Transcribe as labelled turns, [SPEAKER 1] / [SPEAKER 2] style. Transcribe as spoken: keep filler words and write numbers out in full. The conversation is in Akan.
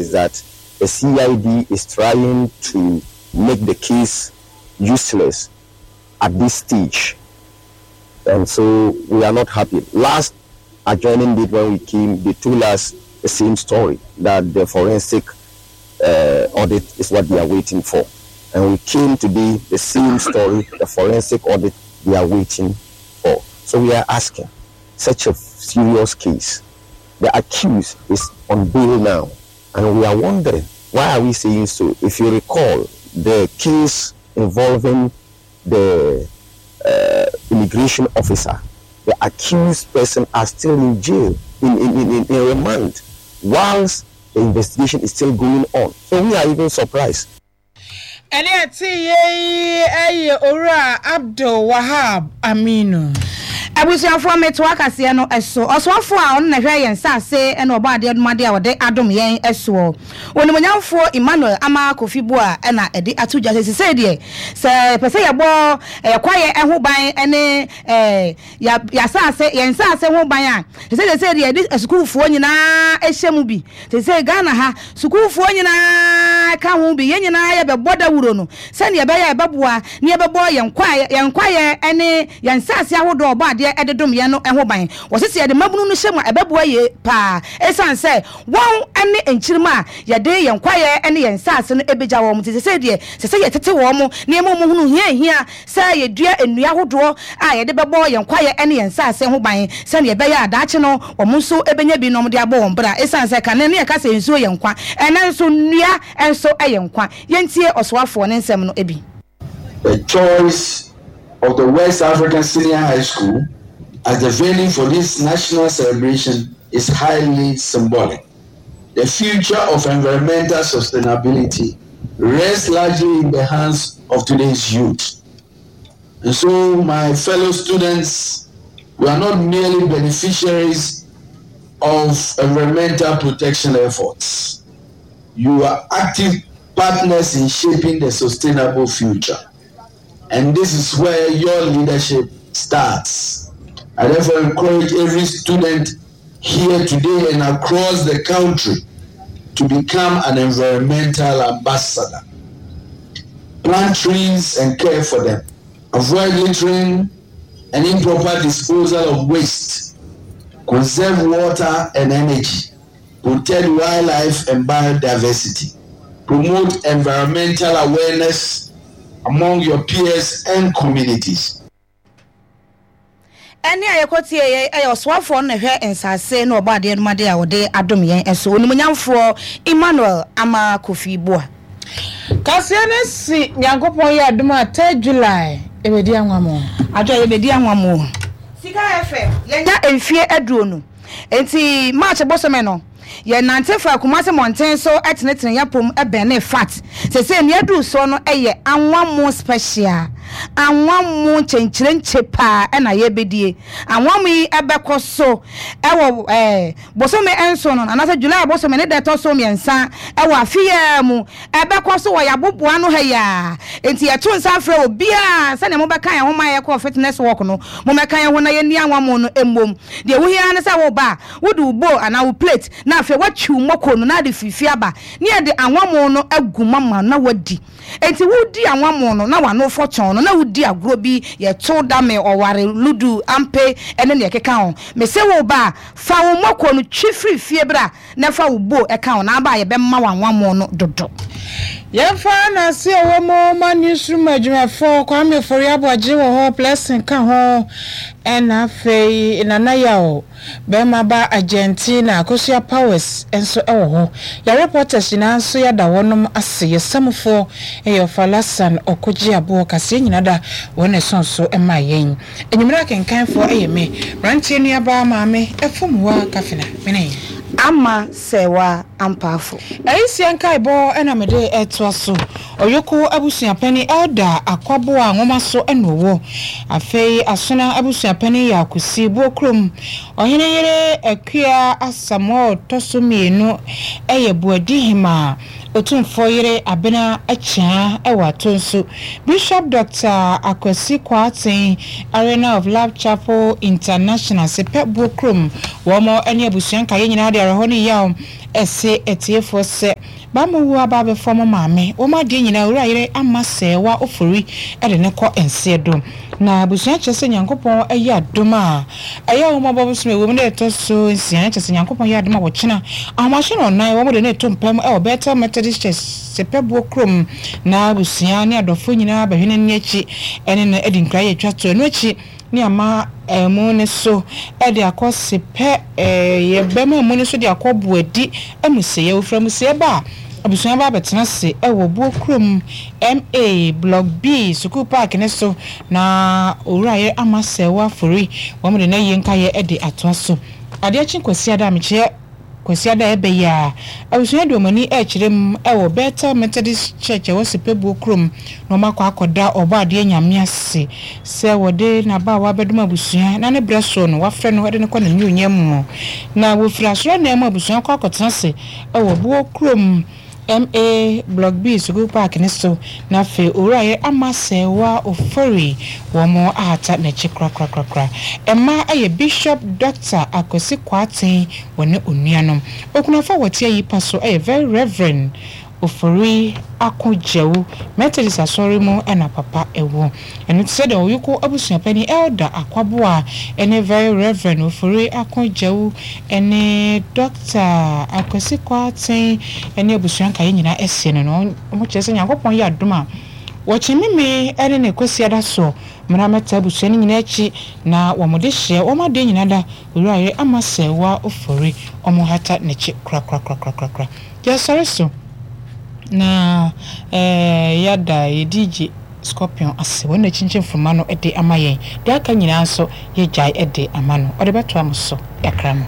[SPEAKER 1] is that the C I D is trying to make the case useless at this stage. And so we are not happy. Last adjoining date when we came, they told us the same story, that the forensic, uh, audit is what they are waiting for. And we came today, the same story, the forensic audit they are waiting for. So we are asking, such a serious case, the accused is on bail now. And we are wondering, why are we saying so? If you recall, the case involving the, uh, immigration officer, the accused person are still in jail, in, in, in, in, in remand, whilst the investigation is still going on. So we are even surprised.
[SPEAKER 2] Ɛne ɛte yei ɛyɛ Owura Abdul Wahab Aminu.
[SPEAKER 3] Abusuafoɔ metoa kaseɛ no ɛso. Ɔsoafoɔ a ɔno na hwɛ yɛn nsaase ɛna ɔbɔ adeɛ dom adeɛ a wɔde adom yɛn ɛsoɔ. Onimuonyamfoɔ Emmanuel Ama Kofi Boa ɛna ɛde ato dwa sɛ sisei deɛ sɛ pɛ sɛ yɛbɔ ɛyɛ kwaeɛ ɛho ban ɛne, ɛɛ, ya-, yasaase, yɛn nsaase ho ban a, sɛ sɛ sɛ deɛ yɛde asukuufoɔ nyinaa ɛhyɛ mu bi. Sɛ sɛ Ghana ha sukuufoɔ nyinaa ka ho bi, yɛn nyinaa yɛbɛbɔ dawuro no sɛnea ɛbɛyɛ ɛbɛboa ne yɛbɛbɔ yɛn kwaeɛ, yɛn kwaeɛ ɛne yɛn nsaase ahodoɔ ɔbɔ adeɛ ɛde dom yɛn no ɛho ban. Wɔsisi yɛde mmabunu no hyɛ mu a ɛbɛboa yie paa. Ɛsiane sɛ wɔn ɛne nkyirima a yɛde yɛn kwaeɛ ɛne yɛn nsaase no ɛbɛgya wɔn. Nti sɛ sɛ deɛ, sɛ sɛ yɛtete wɔn mo, nneɛma mu hunu hia hia sɛ yɛdua nnua ahodoɔ a yɛde bɛbɔ yɛn kwaeɛ ɛne yɛn nsaase ho ban sɛnea ɛbɛyɛ a daakye no wɔn nso ɛbɛnya bi na wɔde abɔ wɔn bra. Ɛsiane sɛ kane ne yɛka sɛ nsuo yɛ nkwa, ɛnɛ nso nnua nso ɛyɛ nkwa. Yɛntie ɔsoafoɔ ne nsɛm no ebi.
[SPEAKER 4] The choice of the West African Senior High School as the venue for this national celebration is highly symbolic. The future of environmental sustainability rests largely in the hands of today's youth. And so, my fellow students, we are not merely beneficiaries of environmental protection efforts. You are active partners in shaping the sustainable future. And this is where your leadership starts. I therefore encourage every student here today and across the country to become an environmental ambassador. Plant trees and care for them. Avoid littering and improper disposal of waste. Conserve water and energy. Protect wildlife and biodiversity. Promote environmental awareness among your peers and communities.
[SPEAKER 3] Ɛne a yɛkɔtie yɛ, ɛyɛ ɔsoafoɔ no na hwɛ nsase na ɔbɔ adeɛ no mu adeɛ a wɔde adom yɛn ɛso. Onimuonyamfoɔ Emmanuel Ama Kofi Boa.
[SPEAKER 2] Kaseɛ no si Nyankopɔn yɛ adom a third July ebedi anwammo.
[SPEAKER 3] Adwo ebedi anwammo. Sika F M yɛnya mfie aduonu. Enti March bosome no yɛ nante fa Kumasi mmɔnten so ɛtenetene yɛpom ɛbɛn ne fat. Sese nea adu so no ɛyɛ anwammo special. Anwammo nkyɛnkyerɛnkyɛ paa ɛna yɛbɛdie. Anwammo yi ɛbɛkɔ so ɛwɔ, ɛɛ, bosome nson no, anaasɛ July bosome ne da ɛtɔ so mmiɛnsa ɛwɔ afeɛ mu. Ɛbɛkɔ so wɔ yɛaboboa no ha yi a. Enti yɛto nsa afrɛ obiara sɛnea mobɛka yɛn ho ma yɛkɔ fitness walk no, mobɛka yɛn ho na yɛnni anwammo no mmom. Deɛ wohia ne sɛ woba a, wode wo bowl anaa wo plate na afei woatwi wo mmɔkɔ no na ade fifi aba ne yɛde anwammo no agu mama na woadi. Enti wodi anwammo no na w'ano fɔtɔn no na wodi agorɔ bi yɛto dame ɔware ludu ampe ɛne nea ɛkeka ho. Mese wo ba a, fa wo mmɔkɔ no twi firi fie bra na fa wo bowl ɛka ho na aba a yɛbɛma wo anwammo no dodo.
[SPEAKER 2] Yɛmfa n'ase a ɛwɔ mu ma newsroom adwumayɛfoɔ Kwame Ofori Aboagye wɔ hɔ, Blessing ka ho, ɛna afei Nana Yaw bɛrima ba Argentina Akosua Powers nso ɛwɔ hɔ. Yɛ reporters nyinaa nso yɛada wɔnom ase. Yɛ samfoɔ ɛyɛ Ɔfalasan Ɔkogye Aboɔ kaseɛ nyinaa da wɔn ɛso nso ɛma yɛn. Enyimire akenkanfoɔ ɛyɛ me mmeranteɛ nuabaa maame Ɛfomwa Kafina mene
[SPEAKER 3] Ama Sɛwa Ampafo.
[SPEAKER 2] Ɛyisia nkaebɔ ɛna mede ɛtoa so. Ɔyoko abusuapɛni Elder Akwaboa nwoma so ɛna ɔwɔ. Afei Asona abusuapɛni yɛ Akosi Buokrom. Ɔhene yere Akua Asamoah ɔtɔ so mmienu ɛyɛ Buadi Hema. Otumfoɔ yere Abena Akyea ɛwɔ ato nso. Bishop Doctor Akwasi Kwarteng, Arena of Love Chapel International, Sepɛ Buokrom. Wɔn ɛne abusua nkaeɛ nyinaa de awerɛhoɔ ne yaw Ɛse atiefoɔ sɛ bama wu aba abɛfɔ mo maame wɔn adeɛ nyinaa owura yere ama sɛɛwa ofori ɛde ne kɔ nseɛ do na abusua kyerɛ sɛ Nyankopɔn ɛyɛ adom a ɛyɛ wɔn abɔ bosom ɛwɔ mu na ɛtɔ so nsia kyerɛ sɛ Nyankopɔn yɛ adom a wɔkyena ahomahyɛ no ɔnan wɔn de ne to mpam ɛwɔ Bethel Methodist Church Sepɛboɔ kurom na abusua ne adɔfoɔ nyinaa bɛhwɛ n'ani akyi ɛne no adi nkra yɛ atwa to ɛno akyi ne ama ɛmu ne so ɛde akɔ sepɛ ɛɛ yɛbɛma mu ne so de akɔ buadi amusieɛ ofura amusieɛ ba a abusua ba abɛtena se ɛwɔ buo kurom M A Block B sukuu park ne so na owura yɛ ama sɛɛwa afori wɔn de n'ayie nkayɛ ɛde atoa so. Adeɛ kye Kwasiada a mekyerɛ Kwasiada a ɛbɛyɛ a abusua de wɔn ani ɛrekyerɛ mu ɛwɔ Bethel Methodist Church ɛwɔ Sepɛbuo kurom na wɔn akɔ akɔda ɔbɔ adeɛ Nyame ase sɛ wɔde n'abaawa abɛdom abusua na ne brɛ soɔ no wafrɛ no ɛde no kɔ n'anuonyam mu na wɔfiri asɔre nan mu abusua kɔ akɔtena ase ɛwɔ buo kurom M A Block B sukuu park ne so na afei owura yɛ ama sɛɛwa ofori wɔn ahata n'akyi korakorakorakora. Mmaa ɛyɛ Bishop Doctor Akwasi Kwarteng wɔne onuanom okunafo a wɔte ayi pa so ɛyɛ Very Reverend Ofori Akogyawu. Methodist asɔre mu ɛna papa ɛwɔ ɛno te sɛ deɛ ɔyoko abusuapɛni Elder Akwaboa ɛne Very Reverend Ofori Akogyawu ɛne Doctor Akwasi Kwarteng ɛne abusua nkaeɛ nyinaa ɛsie no no wɔn kyerɛ sɛ Nyankopɔn yɛ adom a wɔkye meme ɛne ne Kwasiada so mmara mɛta abusua no nyinaa akyi na wɔn de hyɛ wɔn adeɛ nyinaa da owura yɛ ama sɛwa ofori wɔn hata n'akyi korakorakorakorakora. Yɛsɔre so na ɛɛ yɛada yɛ D J Scorpion ase wɔn na kyinkyin mframa no de ama yɛn deɛ aka nyinaa nso yɛgyae de ama no ɔde bɛtoa mo so yakra no.